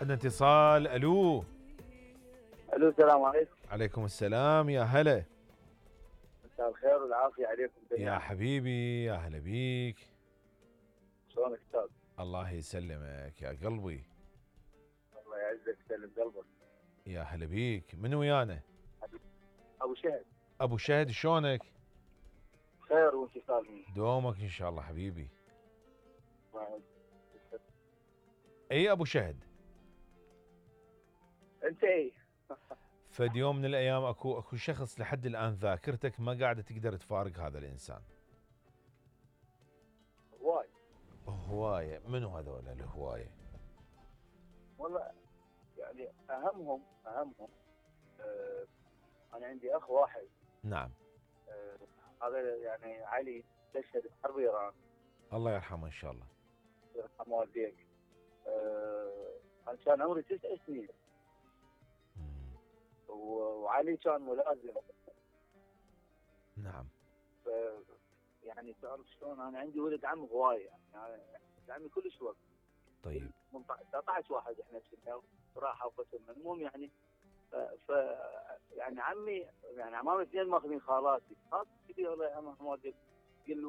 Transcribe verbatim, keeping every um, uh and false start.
عندنا اتصال. الو. الو السلام عليكم. عليكم السلام، يا هلا. مساء الخير والعافيه عليكم جميعا. يا حبيبي يا هلا بيك. شلونك استاذ؟ الله يسلمك يا قلبي. الله يعزك ويسلم قلبك. يا هلا بيك. من ويانا؟ ابو شهد. ابو شهد، شلونك؟ خير وانت استاذ؟ دومك ان شاء الله حبيبي. الله يعزك. اي ابو شهد. انت اي. فد يوم من الايام اكو اكو شخص لحد الان ذاكرتك ما قاعده تقدر تفارق هذا الانسان. هواي. هوايه. منو هذول الهوايه؟ والله يعني اهمهم اهمهم آه انا عندي اخ واحد. نعم. آه هذا يعني علي استشهد بحرب ايران. الله يرحمه ان شاء الله. يرحم والديك. آه انا كان عمري تسع سنين. مم. وعلي كان ملازم. نعم. ف يعني تعرف شلون انا عندي ولد عم هوايه يعني ولد عمي كلش وقت. طيب. تسعة عشر واحد احنا كنا راحوا قسمنا المهم يعني ف, ف يعني عمي يعني عمامي اثنين ماخذين خالاتي، خالتي كبيره الله يرحمها والديك